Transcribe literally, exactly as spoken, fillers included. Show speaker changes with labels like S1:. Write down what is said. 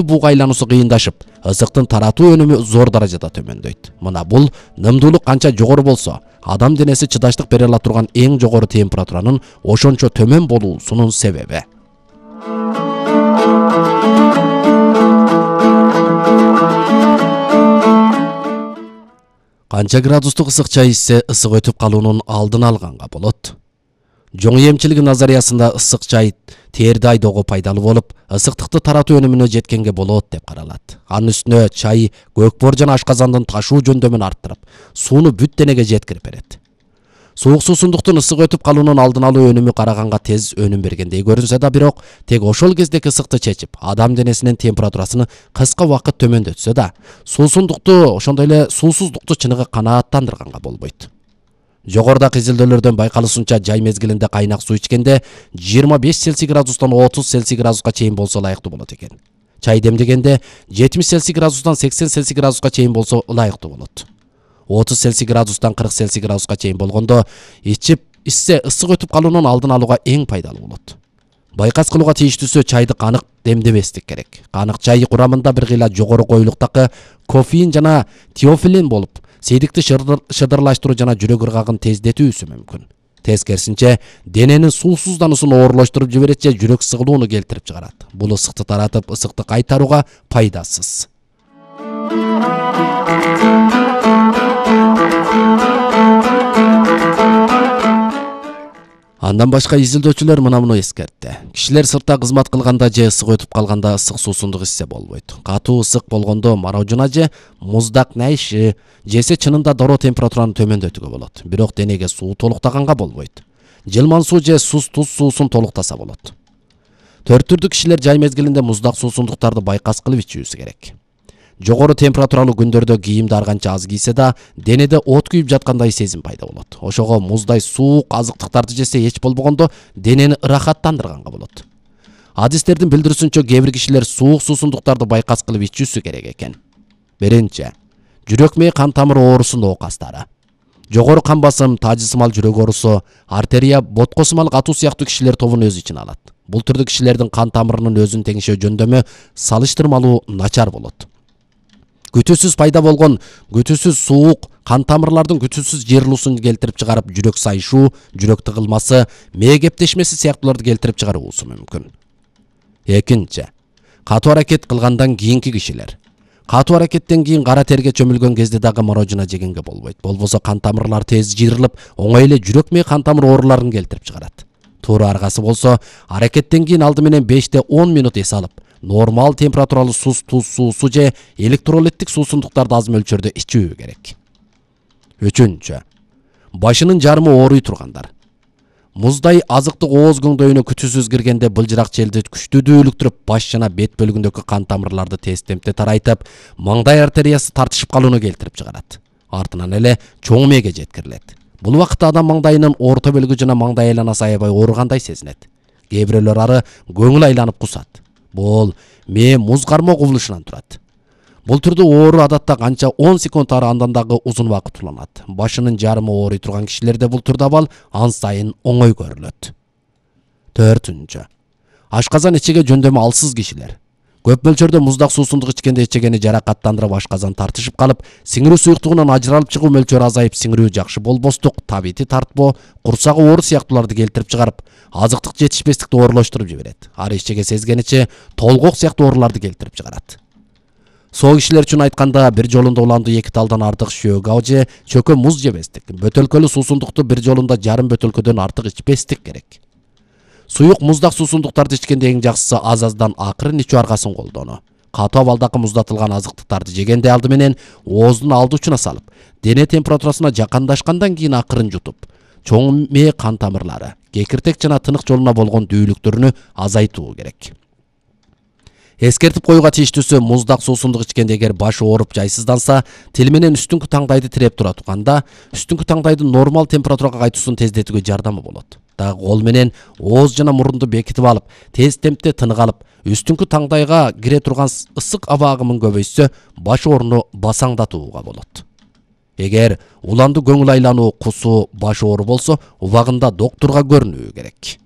S1: буга айлануусу кыйындашып, ысыктын таратуу өнүмү зор даражада төмөндөйт. Мына бул нымдуулук канча жогору болсо, адам денеси чыдаштык бере ала турган эң жогору температуранын ошончо төмөн болуусунун себеби. Канча градустук ысык чай ичсе ысык өтүп калуунун алдын алганга болот. Жоң эмчилиги назариясында ысык чай терди айдоого пайдалуу болуп, ысыктыкты таратуу өнүмүнө жеткенге болот деп каралат. Анын үстүнө чай көкбор жана ашказандын ташуу жөндөмүн арттырып, сууну бүт денеге жеткирип берет. Суук суусундуктун ысык өтүп калуунун алдын алуу өнүмү караганга тез өнүм бергендей көрүнсө да, бирок тек ошол кездеки ысыкты чечип, адам денесинин температурасын кыска убакыт төмөндөтсө да, суусундукту, ошондой эле суусуздукту чыныгы канааттандырганга болбойт. Жогорудагы изилдөөлөрдөн байкалышынча, жай мезгилинде кайнак суу ичкенде жыйырма беш Цельсий градустан отуз Цельсий градуска чейин болсо ылайыктуу болот экен. Чай демдегенде жетимиш Цельсий градустан сексен Цельсий градуска чейин болсо ылайыктуу болот. отуз Цельсий градустан кырк Цельсий градуска чейин болгондо ичип ичсе ысык өтүп калуунун алдын алууга эң пайдалуу болот. Байкас кылууга тийиштүүсү чайды канык демдебестик керек. Канык чай курамында бир кыйла жогору коюлуктагы кофеин жана теофилин болуп, сейдикти шыдырлаштыруу жана жүрөк ыргагын тездетүүсү мүмкүн. Тескерисинче, дененин суусуздануусун оорлоштуруп жиберет же жүрөк сыгылууну келтирип чыгарат. Бул ысыкты таратып, ысыкты кайтарууга пайдасыз. Андан башка изилдөөчүлөр мына муну эскертти. Кишилер сыртта кызмат кылганда же ысык өтүп калганда ысык суусундук ичсе болбойт. Катуу ысык болгондо морожено же муздак найши жесе чынында дароо температураны төмөндөтүүгө болот. Бирок денеге суу толуктаганга болбойт. Жылман суу же суз туз суусун толуктаса болот. Төрт түрдүү кишилер жай мезгилинде муздак суусундуктарды байкас кылып ичүүсү керек. Жогору температуралуу күндөрдө кийимди ар канча аз кийсе да, денеде от күйүп жаткандай сезим пайда болот. Ошого муздай суук азыктыктарды жесе эч болбогондо денени ырахаттандырганга болот. Адистердин билдирүүсүнчө, кээ бир кишилер суук суусундуктарды байкас кылып ичүүсү керек экен. Биринчи, жүрөк мээ кан тамыр оорусунун оокастары. Жогору кан басым, таажысымал жүрөк оорусу, артерия, боткосумал катуу сыяктуу кишилер тобун өз ичине алат. Бул түрдүү кишилердин кан тамырынын өзүн теңшөө жөндөмү салыштырмалуу начар болот. Күтүүсүз пайда болгон күтүүсүз суук кан тамырлардын күтүүсүз жыйрылуусун келтирип чыгарып, жүрөк сайышуу, жүрөк тыгылмасы, мээ кептешмеси сыяктууларды келтирип чыгаруусу мүмкүн. Экинчи, катуу аракет кылгандан кийинки кишилер. Катуу аракеттен кийин кара терге чөмүлгөн кезде дагы морожено жегенге болбойт. Болбосо кан тамырлар тез жыйрылып, оңой эле жүрөк мээ кан тамыр ооруларын келтирип чыгарат. Туура аргасы болсо, аракеттен кийин алды менен беште он минут эс алып, нормал температуралуу суз туз суусу же электролиттик суусундуктарды аз мөлчөрдө ичүү керек. Үчүнчү, башынын жарымы ооруй тургандар. Муздай азыктык ооз көңдөйүнө күтүүсүз киргенде былжырак челди күчтүү дүүлүктүрүп, баш жана бет бөлүгүндөгү кан тамырларды тез темпте тарайтып, маңдай артериясы тартышып калууну келтирип чыгарат. Артынан эле чоң мээге жеткирилет. Бул убакытта адам маңдайынын орто бөлүгү жана маңдай айланасы аябай ооругандай сезинет. Кээ бирөөлөр ары көңүл айланып кусат. Бул мээ муз кармоо кубулушунан турат. Бул түрдүү оору адатта канча он секунд ары андан дагы узун убакыт уланат. Башынын жарымы ооруй турган кишилерде бул түрдүү абал ан сайын оңой көрүлөт. Төртүнчү, ашказан ичеге жөндөмү алсыз кишилер. Көп мөлчөрдө муздак суусундук ичкенде ичегени жаракаттандырып, ашказан тартышып калып, сиңирүү суюктугунан ажыралып чыгуу мөлчөрү азайып, сиңирүү жакшы болбостук, табити тартпоо, курсагы оор сыяктууларды келтирип чыгарып, азыктык жетишпестикти оорлоштуруп жиберет. Ары ичеге сезгениче толгок сыяктуу ооруларды келтирип чыгарат. Соо кишилер үчүн айтканда, бир жолунда уланды эки талдан артык шөөгө же чөкө муз жебестик. Бөтөлкөлүү суусундукту бир жолунда жарым бөтөлкөдөн артык ичпестик керек. Суюк муздак суусундуктарды ичкенде эң жакшысы аз-аздан акырын ичүү аргасын колдонуу. Катуу абалдагы муздатылган азыктыктарды жегенде алды менен ооздун алды учуна салып, дене температурасына жакындашкандан кийин акырын жутуп, чоң мээ кан тамырлары, кекиртек жана тынык жолуна болгон дүүлүктөрүнү азайтуу керек. Эскертип коюуга тийиштүүсү, муздак суусундук ичкенде эгер баш ооруп жайсызданса, тил менен үстүңкү таңдайды тиреп тура турганда, үстүңкү таңдайдын нормал температурага кайтуусун тездетүүгө жардамы болот. Дагы кол менен ооз жана мурунду бекитип алып, тез темпте тынык алып, үстүңкү таңдайга кире турган ысык аба агымын көбөйтсө, баш ооруну басаңдатууга болот. Эгер уланды көңүл айлануу, кусуу, баш оору болсо, убагында доктурга көрүнүү керек.